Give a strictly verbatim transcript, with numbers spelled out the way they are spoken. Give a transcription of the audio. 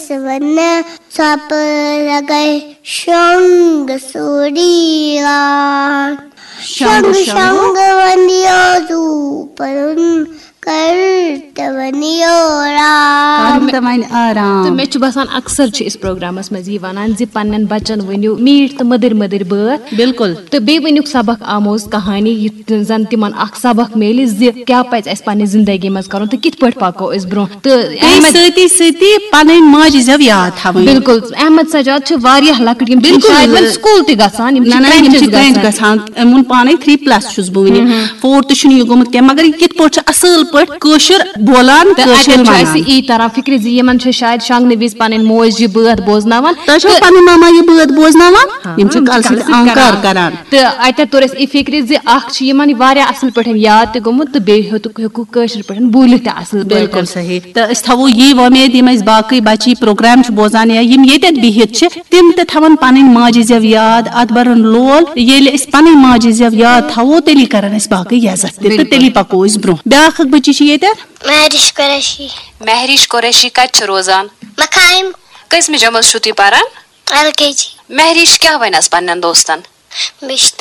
ژٕ وَنہٕ سۄپہٕ لَگَے شۄنٛگ سوٗری لان۔ شۄنٛگ، شۄنٛگ، شۄنٛگ۔ شۄنٛگ وَنیو زوٗپرُن، کَر تہٕ وَنیو رام۔ کَر تہٕ وَنہِ آرام۔ تہٕ مےٚ چھُ باسان، اکثر چھِ أسۍ پروگرامَس منٛز یہِ وَنان زِ پنٛنٮ۪ن بَچَن ؤنِو میٖٹھۍ تہٕ مٔدٕرۍ مٔدٕرۍ بٲتھ۔ بِلکُل۔ تہٕ بیٚیہِ ؤنِکھ سبق آموز کہانی، یُتھ زَن تِمَن اکھ سبق میلہِ زِ کیٛاہ پَزِ اَسہِ پنٛنہِ زِندگی منٛز کَرُن تہٕ کِتھ پٲٹھۍ پَکو أسۍ برٛونٛہہ۔ تہٕ بیٚیہِ احمد سۭتی سۭتی پنٕنۍ ماجہِ زٮ۪و یاد تھاوٕنۍ۔ بِلکُل۔ احمد سجاد چھِ واریاہ لۄکٕٹۍ، یِم چھِ بِلکُل۔ شاید وۄنۍ سکوٗل تہِ گژھان، یِم چھِ نہ، نہ، یِم کرٛنچِس چھِ کرٛنچ گژھان۔ گژھان۔ أمۍ ووٚن پانے، تھری پلس چھُس بہٕ وٕنہِ۔ فورتھ چھُنہٕ یہِ گوٚمُت کینٛہہ، مگر یہِ کِتھ پٲٹھۍ چھُ اصٕل پٲٹھۍ کٲشُر بولان، تہٕ کٲشُر اَتٮ۪تھ چھُ وَنان۔ اَسہِ یی تران فِکرِ زِ یِمن چھُ شاید شۄنٛگنہٕ وِزِ پَنٕنۍ موج یہِ بٲتھ بوزناوان۔ تۄہہِ چھو تہٕ پنٕنۍ ماما یہِ بٲتھ بوزناوان؟ ہاں، یِم چھِ یِم چھِ کَلہٕ سۭتۍ کَلہٕ سۭتۍ اَنکار اَنکار۔ کران۔ تہٕ اَتٮ۪تھ توٚر اَسہِ یہِ فِکرِ زِ اکھ چھُ یِمن یہِ واریاہ اَصٕل پٲٹھۍ یاد تہِ گوٚمُت، تہٕ بیٚیہِ ہیوٚتُکھ، ہیوٚکُکھ کٲشِر پٲٹھۍ بوٗلِتھ تہِ اَصٕل پٲٹھۍ۔ بِلکُل صحیح۔ تہٕ أسۍ تھاوو یی وۄمید، یِم اَسہِ باقٕے بَچی پروگرام چھِ بوزان یا یِم ییٚتٮ۪تھ بِہِتھ چھِ، تِم تہِ تھاوَن پَنٕنۍ ماجہِ زٮ۪و یاد، اَتھ بَرَن لول۔ ییٚلہِ أسۍ پَنٕنۍ ماجہِ زٮ۪و یاد تھاوو، تیٚلی کَرَن اَسہِ باقٕے یہِ عزت تہِ تہٕ بِلکُل۔ تیٚلی پَکو أسۍ برٛونٛہہ۔ بیٛاکھ اَکھ بٔچی چھِ ییٚتٮ۪تھ۔ مہرِش قریشی۔ مہرِش قریشی کَتہِ چھِ روزان؟ مقام۔ کٔژمہِ جمٲژ چھُو تُہۍ پَران؟ ایل کے جی۔ مہرِش کیٛاہ وَنہِ آز پنٛنٮ۪ن دوستَن؟ مےٚ چھِ